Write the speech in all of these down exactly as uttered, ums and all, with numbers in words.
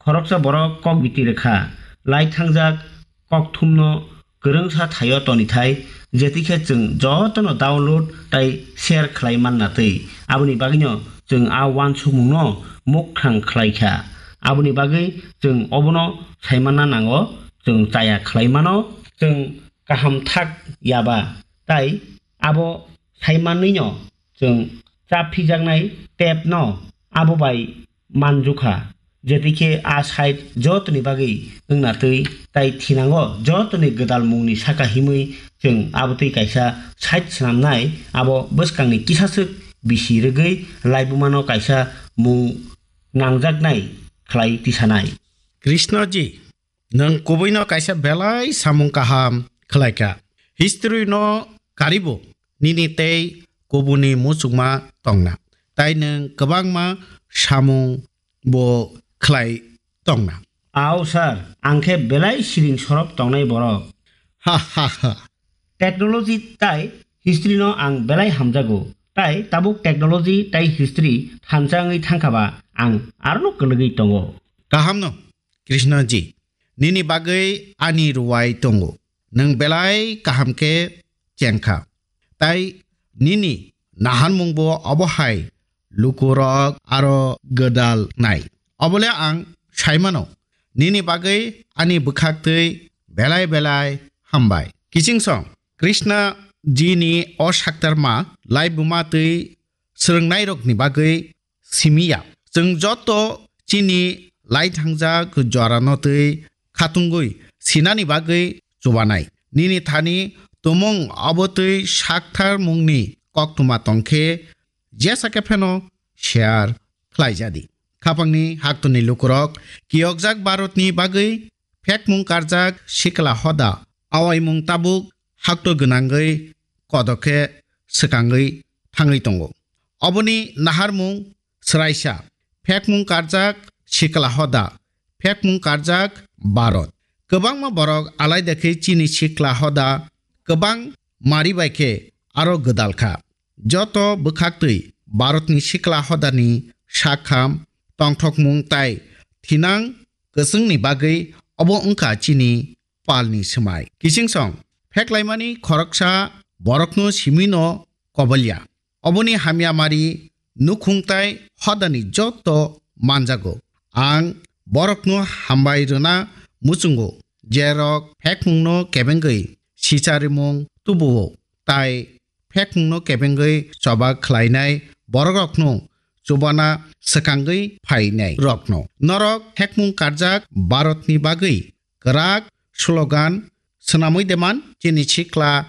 khoroksa borok kok biti rwkha, lai thangjak kokthumno kwrwngsa thaio tonithai, jetikhe chwng jotono download tai share khlai manna twi. Aboni bagwino chwng a uansukmungno mukthang khlaikha. Aboni bagwi chwng obono saimanna nango, chwng chaya khlai mano, chwng kaham thak yaba, tai abo saimanwino chwng chaphijaknai tepno abo bai manjukha. Jetikhe a side jotoni bagwi wngna twi tai thinango jotoni gwdal mungni saka himwi chwng abo twi kaisa side swnamnai, abo bwskangni kisaswk bisi rwgwi laibumano kaisa mung nangjaknai khlai tisanai. Krishnaji, nwng kubuino kaisa belai samung kaham khlaikha. History no karibo nini tei kubuni muchungma tongna. Tai nwng kwbangma samung bo khlai tongna. Ao sir, ang khe belai siring sorop tongnai borok. Ha ha ha. Technology tai history no ang belai hamjago. Tai tabuk technology tai history thansa wngwi thangkha ba ang arono kwlwgwi tongo. Kaham no, Krishnaji, nini bagwi ani ruwai tongo. Nwng belai kaham khe chengkha. Tai nini naharmung bo obo hai lukurok aro gwdal nai. Obole ang saimano, nini bagwi ani bwkhak twi belai belai hambai. Kiching song, Krishna ji ni o saktarma laibuma twi swrwngnairokni bagwi simi ya. Chwng joto chini lai thangjak jorano twi khatungwi sinani bagwi chubanai. Nini thani tumung abo twi sakthar mungni koktwma tongkhe jesa khe pheno share khlai jadi. Khapangni haktwni lukurok kiyokjak Bharatni bagwi phekmung karjak sikla hoda awaimung tabuk hakto gwnangwi kodokhe swkangwi thangwi tongo. Oboni naharmung swraisa, phekmung karjak sikla hoda, phekmung karjak Bharat. Kwbangma borok alaida khe chini sikla hoda kwbang mari bai khe aro gwdal kha. Joto bwkhaktwi Bharatni sikla hodani sakham, tongthokmung tai thinang kwchwngni bagwi obo wngkha chini palni swmai. Kiching song, pheklaimani khoroksa borokno simino kobolya. Oboni hamya mari nukhung tai hodani joto manjago. Ang borokno hambai rwna muchungo, jerok phekmungno kebengwi sicharimung tubuo, tai phekmungno kebengwi choba khlainai borokrokno chubana swkangwi phainai rokno. Norok phekmung karjak Bharatni bagwi kwrak slogan swnamwi deman chini sikla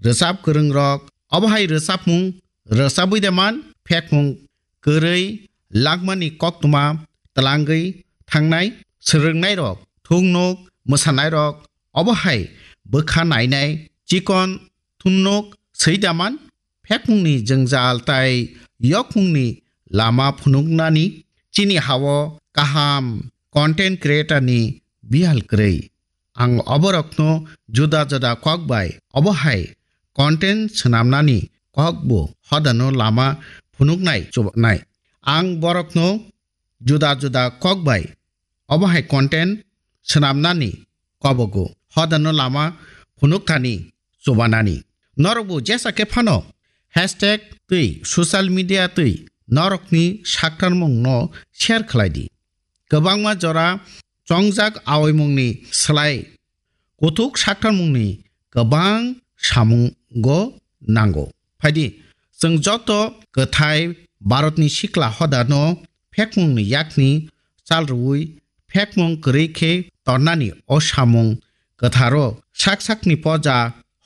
rwchap kwrwngrok, obo hai rwchapmung rwchabwi deman phekmung kwrwi langmani koktwma twlangwi thangnai swrwngnairok, thungnuk mwsanairok, obo hai bwkha nainai chikon thungnuk swi daman phekmungni jwngjal tai yokmungni lama phunuknani chini hao kaham content creator ni bihal kwrwi. Ang oborokno juda juda kok bai obo hai content swnamnani kokbo hodano lama phunuknai chubanai. Ang borokno juda juda kok bai obo hai content swnamnani kobogo hodano lama phunukthani chubanani. Norokbo jesa khe phano hashtag twi social media twi norokni saktarmungno share khlai di. Kwbangma jora chongjak aoimungni slai kuthuk saktarmungni kwbang samungo nango. Phaidi, chwng joto kwthai Bharatni sikla hodano phekmungni yakni chal rwui phekmung kwrwi khe tornani o samung kwtharo sak sakni poja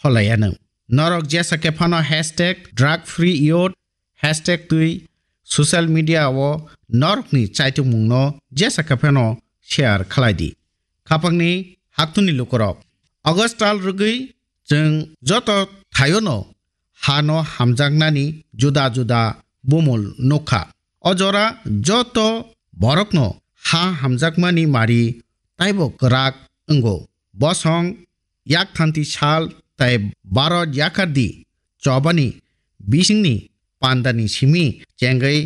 holayanw. Norok jesa khe phano hashtag drug free youth, hashtag twi social media o norokni chaitokmungno jesa khe phano share khlai di. Khapangni haktwni lukurok, August tal rwgwi chwng joto thaiono hano hamjaknani juda juda bumul nukha. O jora joto borokno ha hamjakmani mari taibo kwrak wngo. Bosong yakthanti sal tai Bharat yakardi chobani bisingni pandani simi chengwi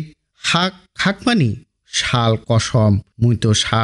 ha khakmani sal kosom muito sal